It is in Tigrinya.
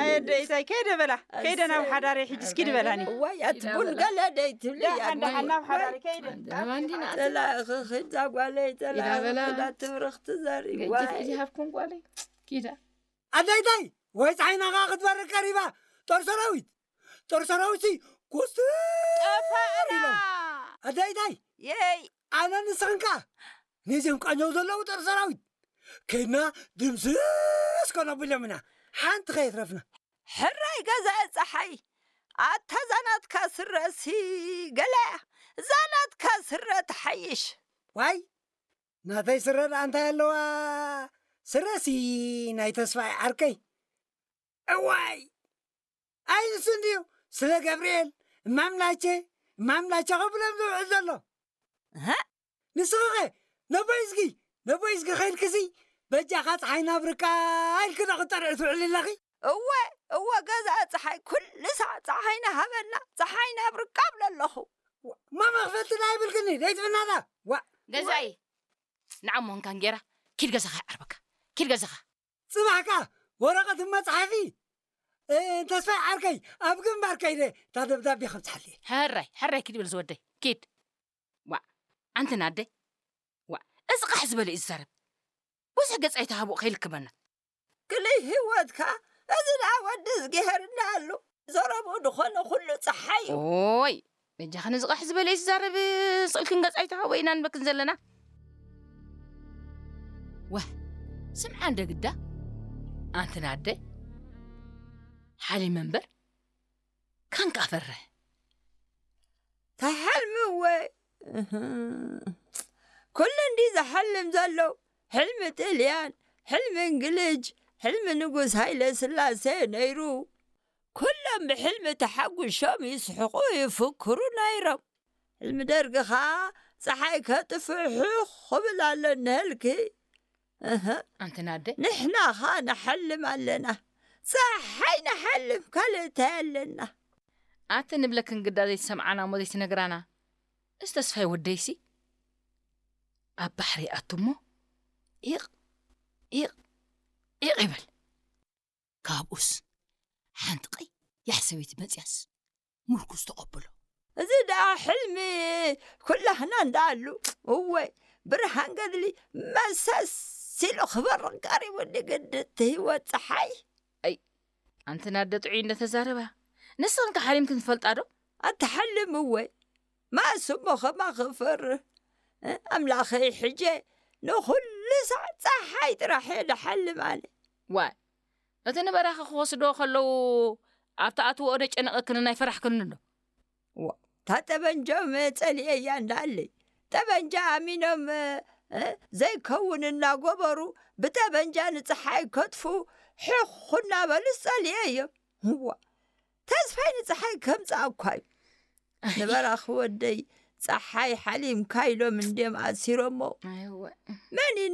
ኣየ ደይታይ ከይደ በላ፣ ከይደ ናብ ሓዳረይ ሕጂ እስኪ ድበላኒ። ዋይ ኣቲ ቡን ገለ ደይ ትብሊ ዳሓን ዳሓን ናብ ሓዳረይ ከይደ። ጸላእኺ ኺዳ ጓለይ፣ ጸላእኺ ኺዳ ትብርኽ ትዘሪ። ዋይ ዚሃብኩም ጓለይ ኪዳ ኣደይታይ ወይ ፀሓይና ከዓ ክትበርቅ ቀሪባ። ጦር ሰራዊት ጦር ሰራዊት ሲ ኮስትር ኢሎም ኣደይታይ የይ ኣነ ንስኽን ከዓ ነዚኦም ቃኘው ዘለዉ ጦር ሰራዊት ከይድና ድምስስ ከነብሎም ኢና። ሓንቲ ከየትረፍና። ሕራይ ገዛ ፀሓይ ኣታ ዛናትካ ስረሲ ገለያ ዛናትካ ስረ ትሓይሽ። ዋይ ናተይ ስረ ደኣ እንታይ ኣለዋ? ስረሲ ናይ ተስፋይ ዓርከይ። እዋይ ኣይ ንሱ እንድዩ ስለ ገብርኤል እማምላቸ እማምላቸ ከብሎም ዝውዕል ዘሎ። እህ? ንስኺኸ ነቦይ እዝጊ ነቦይ እዝጊ ኸይድክሲ በጃኻ ፀሓይ ናብ ርቃ ኢልኪ ዶ ክጠርዒ ትውዕሊ ኣለኺ? እወ እወ ገዛ ፀሓይ ኩሉ ሳዕ ፀሓይ ናሃበና ፀሓይ ናብ ርቃ ብለ ኣለኹ። ማማ ክፈልጥና ይብልክኒ ደይትብናላ ዋ ገዛኢ ንዓሞ እንካን ጌራ ኪድ ገዛኻ ይዓርበካ ኪድ ገዛኻ ፅባሕ ከዓ ወረቐት መፅሓፊ ተስፋይ ዓርከይ ኣብ ግንባር ከይደ እታ ደብዳቤ ከብፅሓለየ። ሕራይ ሕራይ ኪድ በል ዝወደይ ኪድ። ዋእ ኣንቲ ናደይ ዋእ እዚ ቓሕ ዝበለ እዩ ዝዛረብ። ብዙሕ ገፅ ኣይትሃብኦ ከይልክመና። ክልይ ህይወትካ እዚ ደኣ ወዲ እዝግሄር እንዳኣሉ ዘረብኡ ድኾነ ኩሉ ፀሓይ እዩ። ኦይ በጃኽን እዚ ቓሕ ዝበለ እዩ ዝዛረብ። ስቕልክን ገፅ ኣይትሃብኦ ኢና ንበክን ዘለና። ዋህ ስምዓ እንደ ግዳ ኣንቲ ናደይ ሓሊመ እምበር ካንካ ፈርሕ። ተሓልሚ እወ ኩሉ እንዲ ዝሓልም ዘሎ ሕልሚ ጥልያን ሕልሚ እንግልጅ ሕልሚ ንጉስ ሃይለ ስላሴ ነይሩ። ኩሎም ብሕልሚ ተሓጉሾም ይስሕቑ ይፍክሩ ነይሮም። ሕልሚ ደርጊ ኸኣ ፀሓይ ከጥፍእ ሕኽ ክብል ኣሎ እነሀልኪ። እህ፣ ኣንቲ ናደ ንሕና ኸኣ ንሓልም ኣለና። ፀሓይ ንሓልም ካልእ እንታይ ኣለና? ኣቲ ንብለክን ግዳ ዘይትሰምዓና እሞ ዘይትነግራና። እዚ ተስፋይ ወደይሲ ኣብ ባሕሪ ይኣቱ እሞ ኢቕ ኢቕ ኢቕ ይብል። ካብኡስ ሓንቲ ቀያሕ ሰበይቲ መፅያስ ምርኩስ ተቐብሎ። እዚ ደኣ ሕልሚ ኩላህና እንዳኣሉ እወ ብርሃን ገድሊ መሰስ ኢሉ ክበርቕ ቀሪቡ ንግድቲ ህይወት ፀሓይ። ኣይ ኣንቲ ናደ ጥዑይ እንደተዛረባ ንስኽን ከሓሊምክን ትፈልጣ ዶ? ኣትሓልም እወ ማእስ እሞ ኸማ ክፈርህ ኣምላኸይ ሕጀ ንኹሉ ሳዕ ፀሓይ ጥራሕ እየ ድሓልም ኣነ። ዋይ እቲ ንበራኺ ክወስድዎ ከለዉ ኣብቲ ኣትውኦ ደጨነቐክንን ኣይፈራሕክንን ዶ? እታ ጠበንጃ መ ጸሊኤያ እንዳኣለይ ጠበንጃ ኣሚኖም ዘይከውን እናጎበሩ ብጠበንጃ ንፀሓይ ከጥፉ ሕኹ እናበሉ ዝጸልኤ እዮም። እዋ ተስፋይ ንፀሓይ ከምፅኣ እኳ እዩ። ንበራኺ ወደይ ፀሓይ ሓሊምካ ኢሎም እንድዮም ኣሲሮሞ። መን እዩ